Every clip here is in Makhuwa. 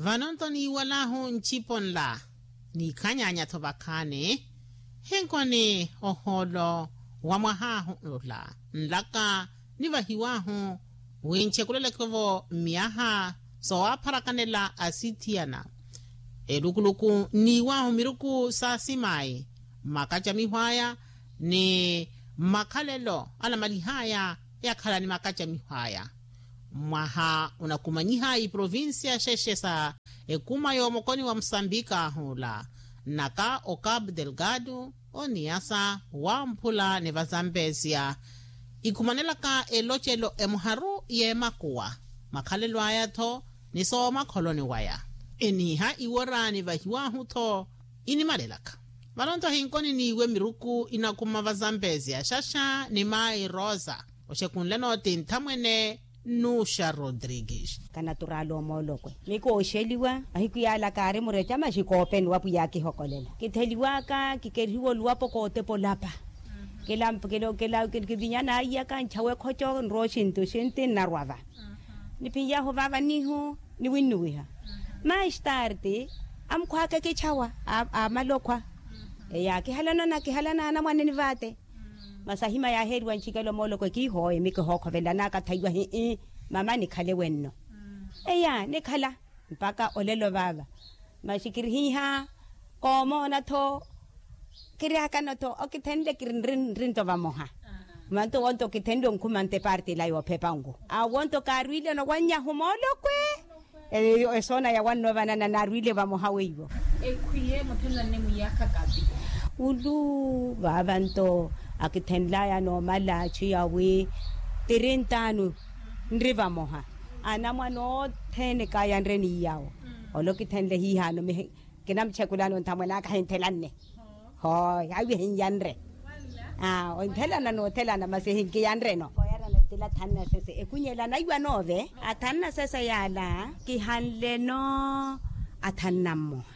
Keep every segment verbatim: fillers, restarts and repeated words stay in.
Vano-nto niiwalahu ncipo nla niikhanyaanya-tho vakhaani. Hinkoni ohoolo wa mwahaahu nla nlaka nivahiwaahu wi nchekuleleke-vo mmyaha soowapharakanela asithiyana. Elukuluku nniiwaahu miruku sa asimayi mmakacamiho aya ni mmakhalelo anamalih'aya yakhala ni makacamiho aya. Mwaha onakumanyih'aya iprovincia xexe sa ekuma yoomokoni wa musambika ahuula nnaka o cabo delgado oniyasa wamphula ni vazambesia ikumanelaka elocelo emuharu y'emakuwa makhalelo aya-tho ni soomakholoni waya. Eniiha iwora nivahiwaahu-tho inimalelaka. Vano-nto hinkoni niiwe miruku inakuma vazambesia xaxa ni mayi rosa oxekunle-no ti nthamwene nuxa rodrigues. Kanaturaala omoolokwe mikooxeliwa mahiku yaala kaari mureca maxi koopeni wa pwiya akihokolela kitheliwaka kikerihiwa oluwapo kootepa olapa. Kivinya naiyaka nchawe ekhoco nrwa oxinti oxinti nnarwa va. Niphinyahu vaava nihu niwinnuwiha. Maistarte amukhwaka ekichawa amala okhwa. Eya kihalana nakihalana anamwane ni vaate. Masi ahima yaaheeriwa ncikelo mooloko ekiihooye mikihookhovelanaka thaiwa hii mama nikhale wenno. Eya nikhala mpaka olelo vaava. Masi kirihiiha koomoona-tho kiryakano-tho okithenle kiri nri nto vamoha. Manto wonto okithenle onkhumante parte ila yoophepa nku awonto kaarwiileno wannyahu moolokwe. Esoona yawanno vanana naarwiile vamoha weiwo. Ekhwiye muthenlanne mwiyaakha kapi. Ulu vaava nto akithenlaya noomala achu yawi tirintaanu nri vamoha. Anamwane othene kaayanre niyawo. Ole okithenle hiihano mihi kinamuchekulano nthamwene aka ahinthelanne. Hoo haiwe hinyanre. Onthelana noothelana masi hinkiyanreno. Kooyarana tila thanu na sese ekunyela naiwa noove. Athanu na sese yaala kihanleno athanu na mmoha.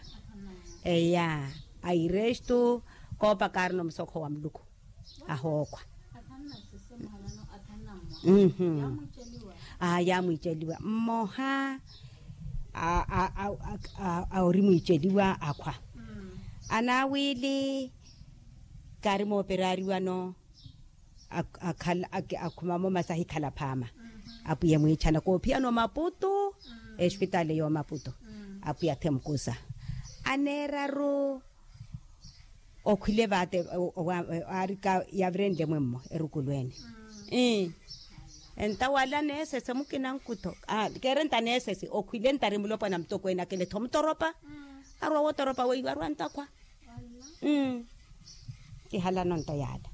Eya airestu koopa kaarina omusokho wa muluku. Ahookhwa. Aa yaamwiiceliwa mmoha. Ori mwiiceliwa akhwa. Anaawiili kaari mooperariwano. Akhumamo masi ahikhala phaama. Apwiya emwiichana koophiyana omaputu. Espitaali y'omaputu apwiya athemukusa aneeraru. Okhwile vaate aarika yavirenle mwemmo erukulweene. Ii enta wala neesese mukina nkutho keere nta neesese okhwile ntari mulopwana mutokweene akele-tho mutoropa. Arwa wotoropa weiwo arwa ntakhwa. Kihalano nto yaala.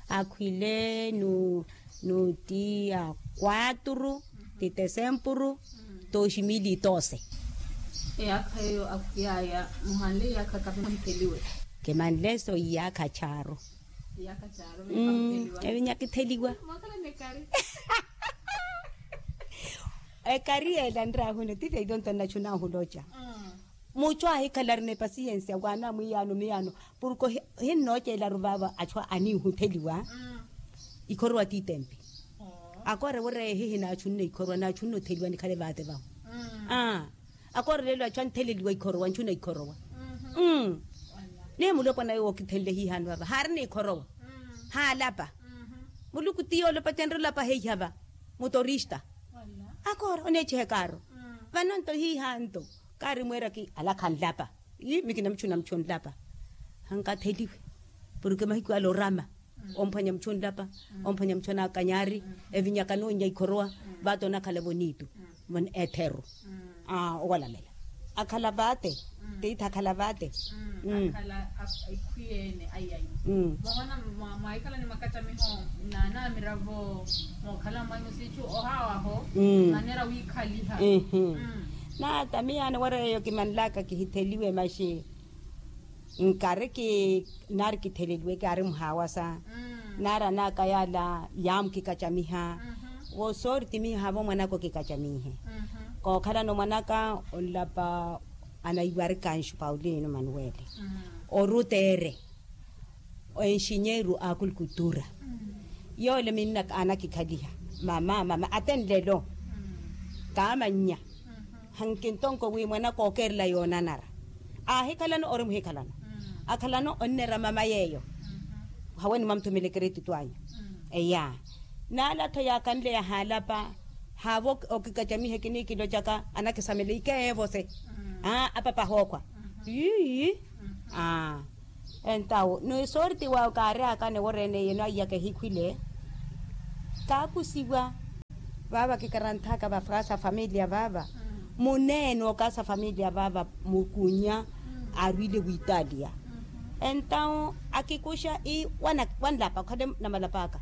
Akhwile nu nuti ya kwaturu ti tesempuru. Toximili tose. Eyaakha eyo akhwiyaya muhanle iyaakha kapi muhitheliwe. Kimanle so iyaakha charu. Evinya kitheliwa. Ekari yeela nrahuno ti veito nto nnachunahu loca. Muchu ahikhala arina epasiyensiya waana mwiyaano miyaano. Porke hinnooceelaru vaava achu aniihutheliwa. Ikhorowa ti itempi. Akoore wira ehihi naachunne ikhorowa naachunne otheliwa nikhale vaate vahu. Akoore leelo achu antheleliwa ikhorowa nchuna ikhorowa. Ni mulopwana yowo okithenle hiihano vava haarina ikhorowa. Haalapa muluku ti yoolopa tenre olapa heiha va. Mutorista akoora oneechiha ekaaro. Vano nto hiiha nto kaari mweeraki ala khanlapa. Ii mikina muchuna muchu onlapa. Hankatheliwe porke mahiku ala orama omphwanya muchu onlapa. Omphwanya muchu anakanyari evinyaka noonnya ikhorowa. Vaata onakhala vonitu etheru. Owalamela akhala vaate. Tiithi akhala vaate. Akhala ekhwiyeene aiyai. Mwahoona mwahikhala ni makacamiho naanamiravo mookhala mwanyu siichu ohaawaho. Maneera wiikhaliha. Naata miyaano wira eyo kimanlaka kihitheliwe maxi nkari ki naari kitheleliwe kaari muhaawasa. Naari anaaka yaala yaamukikacamiha. Wo soori timiha havo mwanaka okikacamihe. Kookhalana omwanaka onlapa anaiwarika anxu paulino manuwele oruteere. Enxinyeeru a akulkutura yoole minna anakikhaliha. Mama mama ate nlelo kaamannya. Hankintonko wi mwanaka ookeerela yoonanara aahikhalano ori muhikhalano. Akhalano onnera mama yeeyo. Haweni mwamuthumelekere etitwanyu eya. Naala-tho yaakanle yahaalapa haavo okikacamihe kinikilocaka anakisamela ikeevo se. Aa apapa ahookhwa. Ii. Aa entawo ni sorti wawe kaaryaka niworeene yeno aiyaka ehikhwile. Kaakusiwa vaava kikaranthaka vafwasa familia vaava. Muneene okaasa familia vaava mukunya aarwile witalia. Entawo akikuxa ii wanlapa okhale namalapa aka.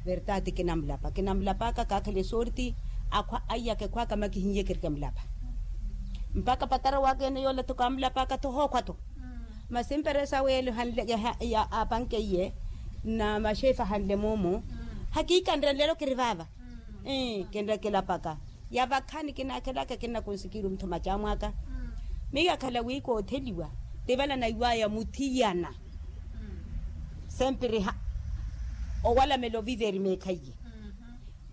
Verdade kinamulapa kinamulapa aka kaakhale sorti. Akhwa aiyaka ekhwaka makihiye kirike mulapa. Mpakha patara waka ene yoola-tho kaamulapa aka-tho hookhwa-tho. Masi mperesa weelo hanle ya apanke iye na maxefe ahanle moomo. Hakiikanre nlelo kiri vaava. Kinre kilapaka ya vakhani kinaakhelaka kinnakunsikiru muthu macamwaka. Miyo akhala wi kootheliwa tivala naiwaya muthiyana. Sempiriha owalamela oviveri meekhaiye.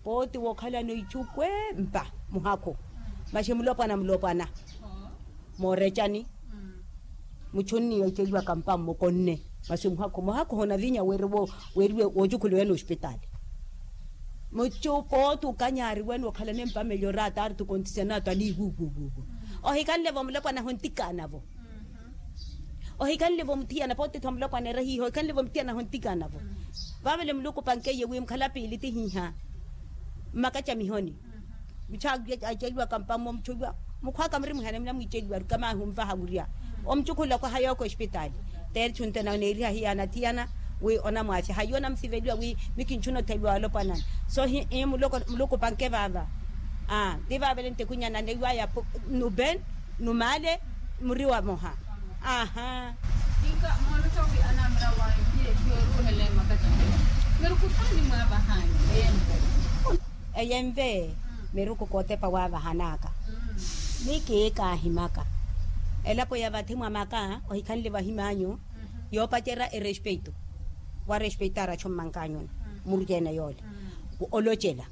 Pooti wookhalano ichu kwempa muhakhu. Maxi mulopwana mulopwana moorecani. Muchu onniya iceliwaka mpa mmukonne. Maxi muhakhu muhakhu honavinya weriwe woocukhulewene ospitaali. Muchu pooti okanyaariwene okhalane mpa melhor ataari tukontisenaato aliiwuwuwuwu. Ohikanle-vo mulopwana hontikaana-vo. Ohikanle-vo muthiyana pooti-tho mulopwana era hiiha ohikanle-vo muthiyana hontikaana-vo. Vaavale muluku opankeiye wi mukhala piili tihiiha mmakacamihoni. Muchu aceliwaka mpammo muchu oiwa mukhwaka murimwihana munamwiiceliwa arukamahi onvaha wurya. Omuchu khulakwa hayooko espitaali teeri chunte nawe neeriha hiyaana thiyana wi onamwaafya hayi onamsiveliwa wi mikinchuna otheliwa olopwanani. So hii muluku opanke vaava. Aa ti vaavale nte kwinyana neiwaya nuben numaale muri wamoha. Aaha. Inka moolotta wi anamira wayo hiye hiyo eruuhele makacani. Miruku thaani mwaavahani eyenve. Eyenve miruku kootepa waavahanaka. Ni kiikaahimaka elapo ya vathi mwa maka ohikhanle vahimanyu. Yoopacerya erespeito warespeitara achu mmankanyuni. Murukene yoole olocela.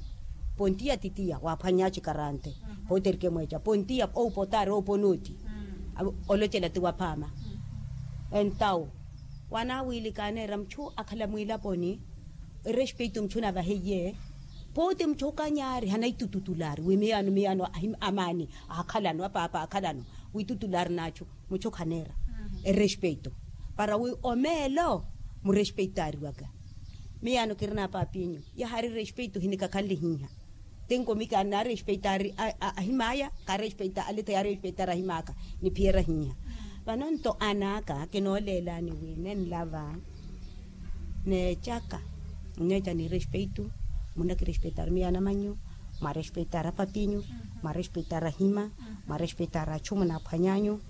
Pontiya titiya waaphwanya acikarante. Pooterike mweeca pontiya oupotari oupona oti. Olocela ti waphaama. Entawo wanaawiili kaaneera muchu akhala mwiilaponi. Erespeito muchu navaheiye. Pooti muchu okanyaari hanaitututulaari wi miyaano miyaano amaani aakhalano apaapa aakhalano. Witutulaari n'achu muchu khaneera erespeito para wi omeelo murespeitaariwaka. Miyaano kirina paapinyu yahaari respeito hinikakhanle hiiha. Tinko mika naarespeitaari ahim'aya kaarespeita aleto yaarespeitaari ahim'aka. Niphiyerya hiiha vano nto an'aka kinooleelani wi nenlava. Neecaka nneeca ni respeito. Munakirespeitaari miyaano amannyu mwarespeitaari apapinyu mwarespeitaari ahima mwarespeitaari achu munaaphwanyanyu.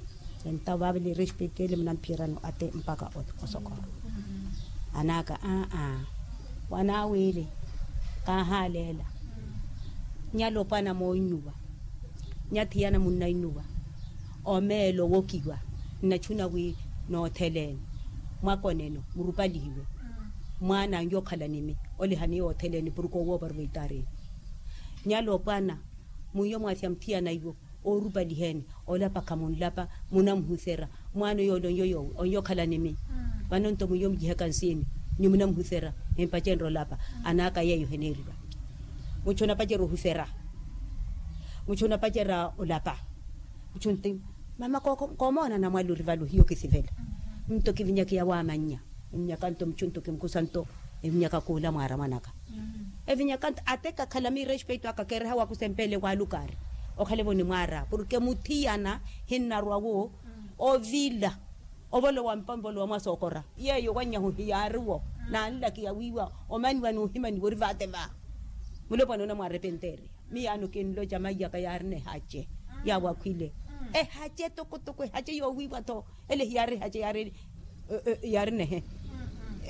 Entawo vaavale erespeito ele munamphiyerani ate mpakha osokora. An'aka aa wanaawiili kaahaaleela. Nyalopwana moonnuwa nyathiyana munnainnuwa omeelo owokiwa nnachuna wi nootheleeni mwakoneno murupalihiwe. Mwaan'anyu okhala nimi olihani yootheleeni puruku owoovaruva itarini. Nyalopwana mwiyo mwathi amuthiyana iwo oorupaliheeni olapa khamunlapa munamuhusera mwaano yoole onyo yoowe onyo okhala nimi. Vano nto mwiyo mujihaka nsiini nyi munamuhusera empacenre olapa an'aka yeeyo heneeriwa. Muchu onapacerya ohusera muchu onapacerya olapa. Muchu nti mama koomoona namwali ori vale ohiya okisivela. Nto kivinyaka yawaamannya evinyaka nto muchu nto kimukhusa nto evinyaka khuula mwaara mwanaka. Evinyaka nto ate kakhala miirespeito aka keereha wakusempele waalukaari okhale-vo ni mwaara porke muthiyana hinnarwa-wo ovila ovolowa mpa ovolowa mwasookora yeeyo wanyahu hiyaari-wo. Naanlakiya wiiwa omaniwa n'uhimaniwa ori vaate va mulopwana onamwaarepenteeriya. Miyaano kinloca maiyaka yaarina ehace yaawakhwile ehace tokotoko ehace yoowiiwa-tho ele hiyaari ehace yaari yaarinehe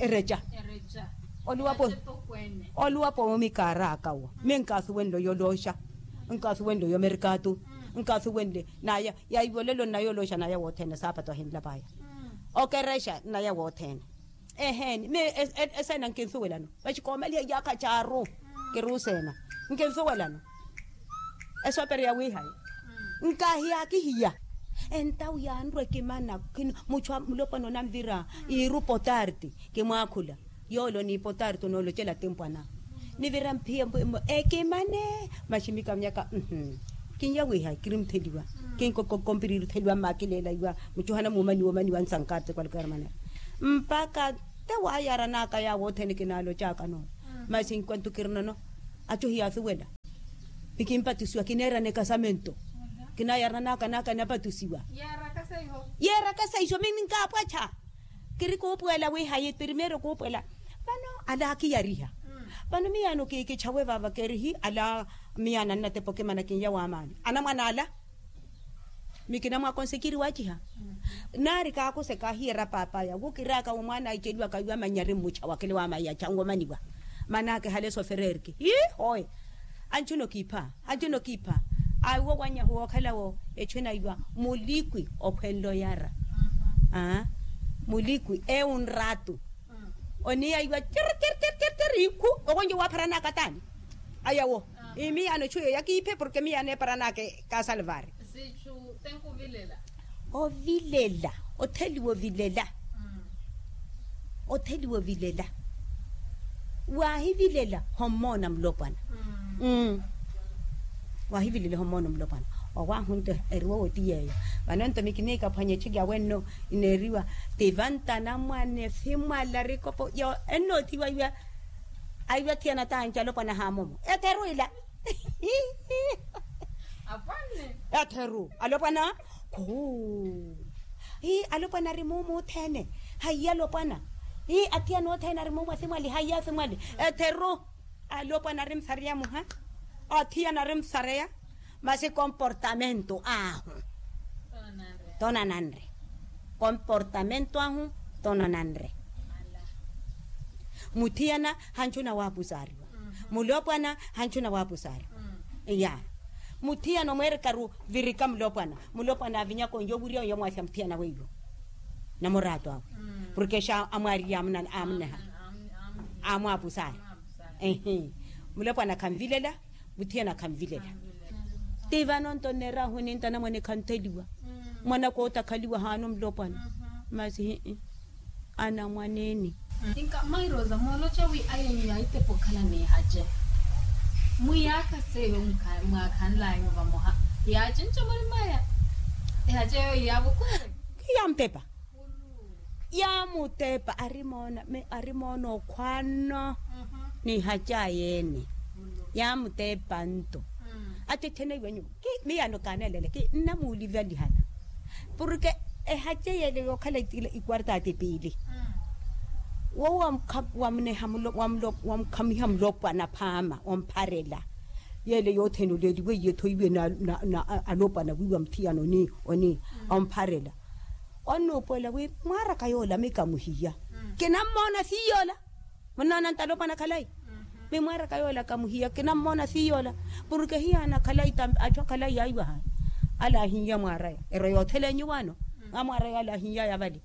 ereca. Oluwapo oluwapo mumikaaraka wa minkaasuwenle oyolooxa nkaasuwenle oyomerikaatu nkaasuwenle naya yaiwolelo nnayolooxa naya wothene saapatu ahinlapaya okerexa nnaya wothene. Eheeni mi eseena nkinsuwelano maxi koomaliha iyaakha caaru kiruuseena Nkinsuwelano esoperi ya wiihayi. Nkaahiya akihiya entawu yaanrwa ekimana. Muchu a mulopwana onanvira iiru potarti kimwaakhula yoole oniipotarti onoolocela timpwana. Nivira mphiya ekimane maximika nyaka. Kinyawiha kiri mutheliwa kinkokokompiriri otheliwa mmakileela iwa muchuhana muumaniwa omaniwa nsankarti kwalukera manera mpaka te waayaranaka yaawo othene kinaalocakanoo. Masi nkwantu kirinono achu hiyasuwela. Nikimpatisiwa kineerana ekasamento. Kinayaranaka naka napatisiwa. Yeerakasa iho mi ninkaapwacha. Kiri kuupuwela wiihayi primeiro kuupuwela. Vano ala akiyariha. Vano miyaano kikichawe vava kerihi ala miyaano annatepa okimana kinya waamaani anamwana ala. Mi kinamwaakonse kiri waachiha. Naari kaakusa ekaahiyeera paapaya wukiraaka wi mwaana aiceliwaka wiwa manyari mmucha wakile waamaiya chanwomaniwa. Manake hale sofererki hiihoye. Anchuna okiipha anchuna okiipha. Awo wanyahu wookhalawo echwena iwa mulikwi okhwenle oyara. Mulikwi ewu nratu. Oniya iwa tiri tiri tiri tiri tiri ikhu. Okonjo waapharanaka taani ayawo. Imiyaano echu yeyo yakiiphe porke miyaano eparanaka ekasalvari. Ovilela otheliwa ovilela. Otheliwa ovilela. Waahivilela hommoona mulopwana. Waahivilela hommoona mulopwana. Owaahunto eriwa woti yeeyo. Vano nto mi kiniikaphwanya echu kyawenno ineeriwa. Tivanta anamwane fimwala rikopo yo ennootiwa iwa. Aiwa thiyana taanci alopwana haamomo etheru ila. Etheru alopwana khuu. Hii alopwana ari muumu othene. Haiya alopwana. Hii athiyana othene ari muumu asimwali haiya asimwali. Etheru alopwana ari musareya muha. Athiyana ari musareya. Masi komportamento ahu tonanre. Komportamento ahu tonananre. Muthiyana hanchuna waapusaariwa. Mulopwana hanchuna waapusaariwa. Ya muthiyana omweerekaru virika mulopwana. Mulopwana avinyaka onyo wiriya onyo mwaasya muthiyana weiwo. Namuraatu awe porke xa amwaariliye amuneha amwaapusari. Ehi mulopwana khanvilela. Muthiyana khanvilela. Ti vano nto nneerahu ninta anamwane khantheliwa. Mwanaka otakhaliwa haano mulopwana. Masi hii anamwaneeni. Inka mairosa mooloca wi ayenyu yaahitepa okhala n'ihace mwiyaakha seyo mwaakhanlaya vamoha. Yaacinca murimaya ehace eyo yaavukuwe. Yaamutepa. Yaamutepa arimoona arimoona okhwaano. N'ihace ayeene yaamutepa nto. Attetheneiwe nyuwo ki miyaano kaaneelele ki nnamuulivalihana. Porke ehace yeele yookhala ikwartaati piili. Wowo wamuneha wamukhamiha mulopwana phaama ompharela. Yeele yothene oleeliwe iye thoiwe na alopwana wiiwa muthiyana onii ompharela. Onnuupuwela wi mwaaraka yoola mikamuhiya. Kinammoona siiyoola. Munnoona nto alopwana khalayi. Mimwaaraka yoola kamuhiya kinammoona siiyoola. Porke hiyaana khalayi ta achu akhalayi yaiwaha. Alaahinya mwaaraya ero yootheleenyu waano. Amwaaraya alaahinyaya vale.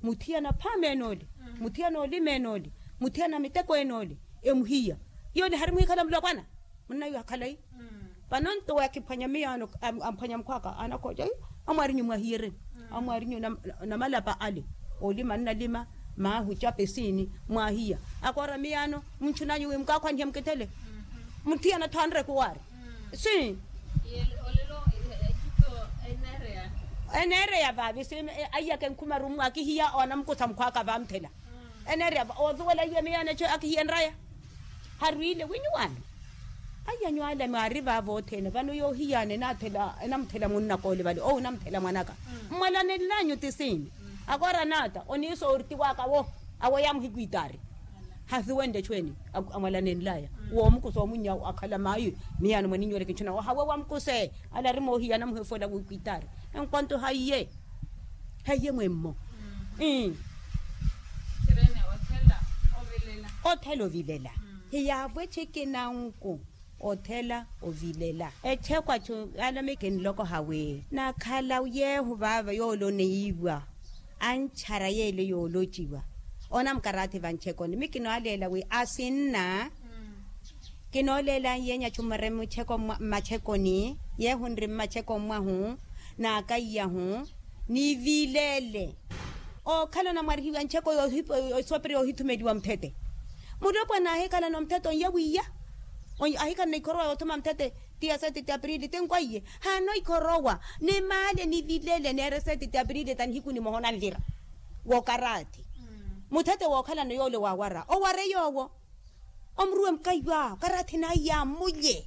Muthiyana phaama enoole. Muthiyana olima enoole. Muthiyana miteko enoole. Emuhiya yoole hari mwiikhala mulopwana. Munnaiwa khalayi. Vano nto wakiphwanya miyaano amphwanya mukhwaka anakhoca amwaarinyu mwahiyereni. Amwaarinyu namalapa ale olima nnalima. Maahu capesiini mwahiya akoora miyaano. Munchunanyu wi mukaakhwanhiya mukithele. Muthiyana thanre kuwaari. Si eneereya vaavi si aiyaka enkhumaru mwakihiya oona mukusa mukhwaka vaamuthela. Eneereya va osuwela iwe miyaano echo akihiya nraya. Harwiile winyuwaano. Aiyanyu ala mwaari vaavo othene vano yoohiyaana enamuthela munnaka ole vale owu enamuthela mwanaka. Mmwalanenlanyu ti siini? Akoora naata oniisa orti waka wo. Awo yaamuhikwitaari. Hasuwenle echweeni amwalanenlaya woomukusa omunyawo akhala mayi. Miyaano mwaninyoole kinchuna ohawe wamukuse. Ala ari moohiya anamuhefola wikwitaari. Enkwanto haiye haiye mwemmo. Othela ovilela hiyaavo echikina nku. Othela ovilela echekwachu alomeke nloko hawi nakhala yeehu vaava yooloneyiwa. Anchara yeele yoolociwa onamukarathi vanchekoni mikinoaleela wi asinna. Kinooleela yeenya chummwere mmatchekoni yeehu nri mmatchekoni mwahu, n'akaiyahu nivileele. Ookhala onamwarihiwa ncheko yoosooperya ohithumeliwa muthete. Mulopwana ahikhalana omuthete onyawiyya, ahikhalana ikhorowa yoothuma muthete. Tiya sete ti aprili tinkwahiye, haana ikhorowa ni maale ni vileele neere sete ti aprili ta nihiku nimoha onanvira. Wookaraathi muthete wookhalana yoole waawara oware yoowo. Omuruwe mukaiwa karaathi naiya amulye.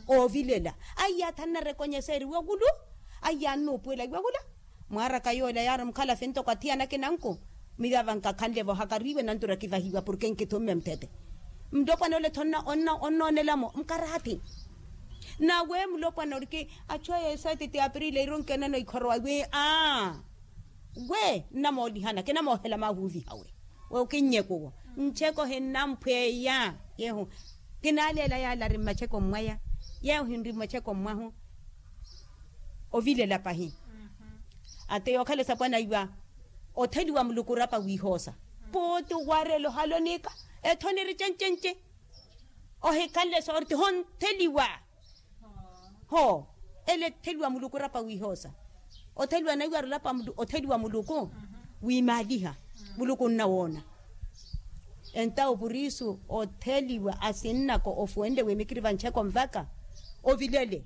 Oovilela aiya athanna rekonyeseeriwa okulu. Aiya annuupuwela iwakula. Mwaaraka yoole yaari mukhalafi ntoko athiyana kinanku. Miyo ava nkakhanle vohakariwe nantura kivahiwa porke nkithumme muthete. Mulopwana ole tho onnoonelamo mukaraathi. Nawe mulopwana oriki achu aya esaati ti aprili iru nkenano ikhorowa wi aa. We nnamoolihana kinamoohela maahuuviha we. We okinnyekuwo ncheko hinnamphweya. Yeehu kinaaleela yaala ari mmacheko mmwaya. Yeehu hinri mmacheko mmwahu. Ovilela pahi. Ate yookhala esapwana iwa otheliwa muluku orapa wiihoosa. Puuti owarela ohala oniika etho niri cencence. Ohikhanle soorti hontheliwa. Hoo ele etheliwa muluku orapa wiihoosa. Otheliwa naiwara olapa otheliwa muluku wiimaaliha. Muluku onnawoona. Entawo purisu otheliwa asinnako ofuwenle wi mikiri vancheko nvaka. Ovilele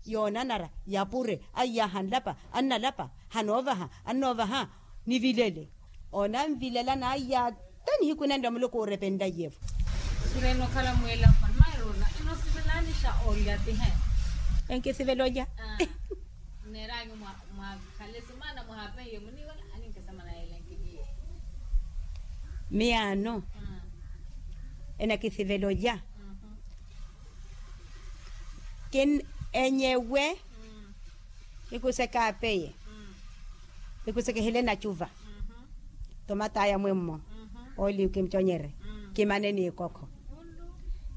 yoonanara yapure aiyaha nlapa annalapa. Hanoovaha annoovaha nivilele. Onanvilela naiya ata nihiku nanle muluku oorepenlaiye-vo. Sureni okhala mwiila mmairuna enosivelanixa olya tihe. Enkisivela olya. Neeranyu mwakhale simana muhapeiye muniwela aninkisema nayela nkiliye. Miyaano enakisivela olya. Kin enyewe. Kikuseka apeye. Kikuseka ehele nacuva. Tomataya mwemmo. Oli kimuconyere. Kimane n'ikokho.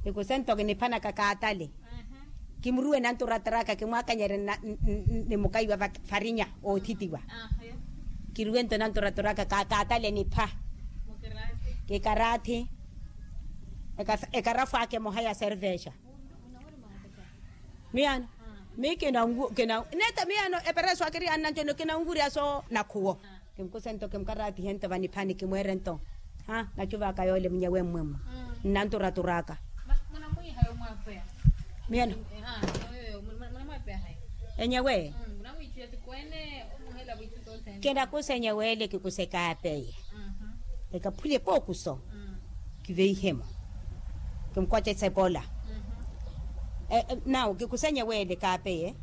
Kikusento kiniphanaka kaatale. Kimuruwe nanturatara aka kimwakanyere ni mukaiwa farinya oothitiwa. Kiruwento nanturatara aka kaatale nipha. Kikaraathi. Ekarafu aka emoha ya servexa. Miyaano. Mi kina neta miyaano epereso akiri annancono kinanwurya so nakhuwo. Kimkusento kimukaraatihento vaniphani kimweerento. Ha nacuva aka yoole munyewe mmwemmo. Nnanturaturaaka. Miyaano. Enyewe. Kinakusa enyewe ele kikuseka apeye. Ekaphulye pookuso. Kiveihemo. Kimukwace sepola. Nawu kikusa enyewe ele kaapeye.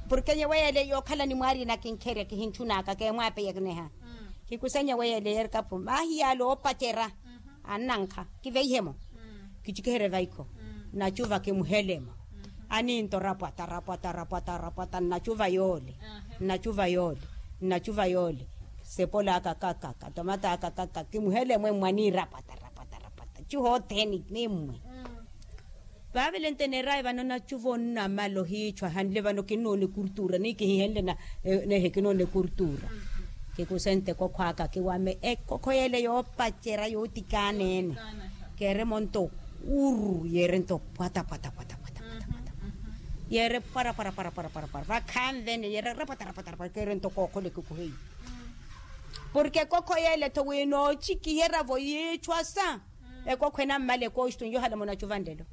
Porke enyewe ele yookhala ni mwaarina kinkherya kihinchunaka keemwapeya kineha. Kikusa enyewe ele yerikapu mahi yaale oopacera. Annankha kiveihemo. Kichikiherye vaikho. Nacuva kimuhelemo. Aninto rapwata rapwata rapwata rapwata nnacuva yoole. Nnacuva yoole. Nnacuva yoole. Sepola aka kakaka tomata aka kakaka kimuhelemo emmwe aniirapwata rapwata rapwata cuhotheni nimmwe. Vaavele nteneeraye vano nacuva onnamala ohiichwa hanle vano kinnoona ekurtura ni kihihenle nehe kinnoona ekurtura. Kikusente ekokho aka kiwame ekokho yeele yoopacera yootikaaneene. Keeremo nto uru yeere nto pwata pwata pwata pwata pwata pwata. Yeere pwara pwara pwara pwara pwara pwara vakhanvene yeere rapwata rapwata rapwata keere nto kookhole kikuheyi. Porke ekokho yeele tho wi noocikihera-vo yiichwasa. Ekokho enammala ekooxtu nyohala munacuva nlelo.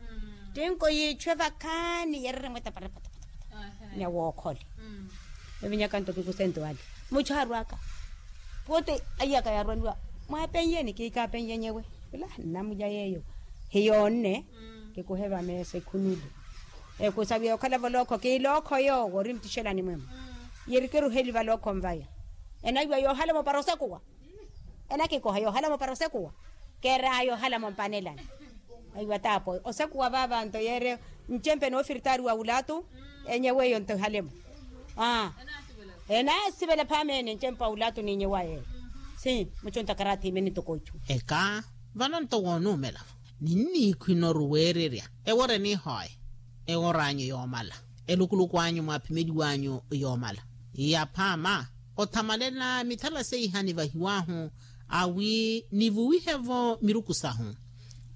Tinko yiichwe vakhaani yeere remweta pwara pwata pwata pwata. Nyawookhole. Evinyaka nto kikusente wale muchu aarwaka. Pote aiyaka yaarwaniwa mwaapennyeni kiikaapennya enyewe. Ila nnamulya yeeyo hiyoonne. Kikuheva meesa ekhunulu. Ekusaviya okhala-vo lookho kiilookho yoowo ori mutixelani mwemmo. Yeri kiruheli valookho nvaya. Enaiwa yoohala mopara osekuwa. Enakikoha yoohala mopara osekuwa. Keeraya yoohala mompanelani. Aiwa taapo osekuwa vaava nto yeere. Ncempe noofiritaari wa wulaatu. Enyewe eyo nto ehalemo. Aa. Enaasivela phaamene ncempe wa wulaatu n'inyewa yeeyo. Si muchunta karathi imene ntoko ichu. Eka vano nto woonuumela-vo. Ninniikhwina oruweererya ewora eniihooya. Ewora anyu yoomala. Elukuluku anyu mwaaphimeliwa anyu yoomala. Yaphaama othamalela mithala seiha nivahiw'ahu awi nivuwihe-vo miruku sahu.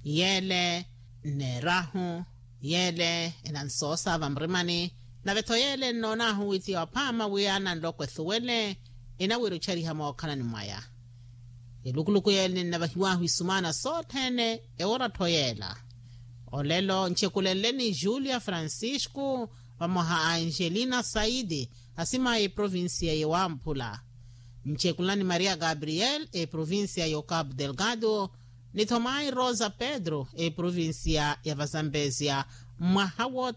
Yeele Nneerahu yeele enansoosa vamuremani. Nave-tho yeele nnoonaahu wi ti waphaama wi ananloko ethuwele enawira ochariha mookhalani mwaya. Elukuluku yeele ninnavahiwaahu isumaana sothene. Ewora-tho yeela olelo nchekulenle ni julia francisco vamoha a angelina saidi, asimaya eprovincia yewamphula. Nchekulani maria gabriel eprovincia yo capu delgado, ni thomayi rosa pedro eprovincia ya vazambesia. Mwaha wothene